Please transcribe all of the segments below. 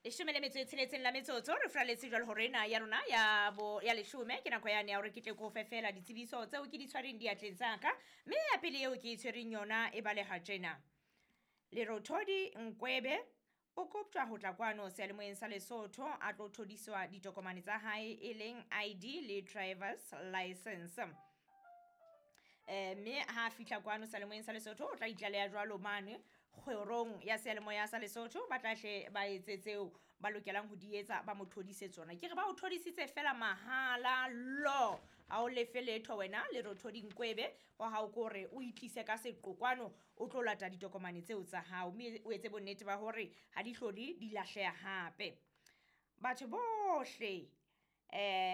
Leshome le metso e tsheletseng la metsotso re furaletse jwalo hore ena ya rona ya bo ya leshome ke nako yane ya hore ke tle ko fe fela ditsebiso tseo ke di tshwareng diatleng tsa ka. Mme ya pele eo ke e tshwereng yona e baleha tjena. Lerothodi Nkwebe o koptjwa ho tla kwano seyalemoyeng sa Lesotho a tlo thodiswa ditokomane tsa hae e leng ID le drivers license. Mme ha a fihla kwano seyalemoyeng sa Lesotho o tla itlaleha jwalo mane kgorong ya seyalemoya sa Lesotho, ba tla hle ba etse tseo ba lokelang ho di etsa, ba mo thodise tsona. Ke re ba o thodisitse fela mahala lo, ha o lefe letho wena Lerothodi Nkwebe, wa hao ke hore o itlise ka seqo kwano o tlo lata ditokomane tseo tsa hao, mme o etse bonnete ba hore ha di hlole di lahleha hape. Batho bohle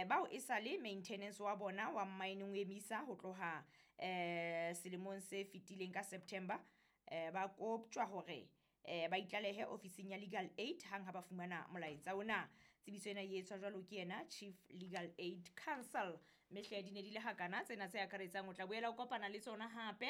bao e sale maintenance wa bona wa mmaeneng o emisa ho tloha selemong se fetileng ka September, ba koptjwa hore ba itlalehe ofising ya Legal Aid hang ha ba fumana molaetsa ona. Tsebiso ena e etswa jwalo ke yena Chief Legal Aid Council. Mme hle di ne di le hakana tsena tse akaretsang, o tla boela o kopana le tsona hape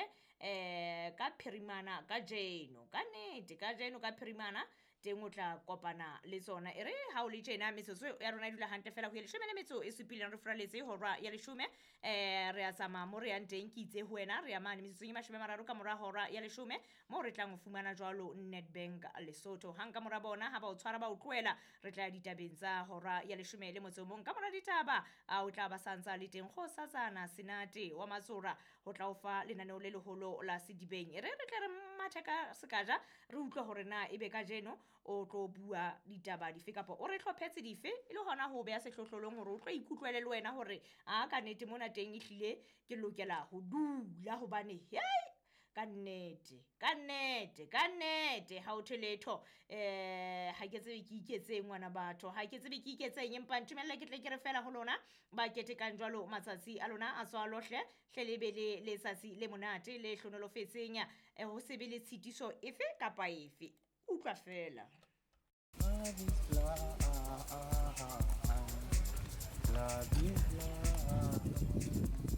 ka phirimana kajeno. Ka nnete kajeno ka phirimana teng o tla kopana le tsona. E re ha o le tjena metsotso ya rona e dula hantle fela ho ya leshome le metso e supileng re furaletse hora ya leshome. Re a tsamaya mo re yang teng, ke itse ho wena re ya mane metsotsong e mashome a mararo ka mora hora ya leshome, moo re tlang ho fumana jwalo Nedbank Lesotho. Hang ka mora bona ha ba o tshwara ba o tlohela, re tla ya ditabeng tsa hora ya leshome le motso o mong. Ka mora ditaba a o tla ba santsa le teng Kgosatsana Senate wa Matsora ho tla o fa lenaneo le leholo la sedibeng. E re re tle re mathe ka sekaja re utlwe hore na ebe kajeno o tlo bua ditaba dife kapa o re hlophetse dife, e le hona ho beha sehlohlolong hore o tlo ikutlwele le wena hore a ka nnete mona teng ehlile ke lokela ho dula hobane hei ka nnete ka nnete ka nnete ha o thwe letho. Ha ke tsebe ke iketseng ngwana batho, ha ke tsebe ke iketseng, empa ntumelle ke tle ke re fela ho lona ba ketekang jwalo matsatsi a lona a tswalo hle hle le be le letsatsi le monate le hlonolofetseng, ho se be le tshitiso efe kapa efe. Utlwa fela. Love is blind. Love is blind.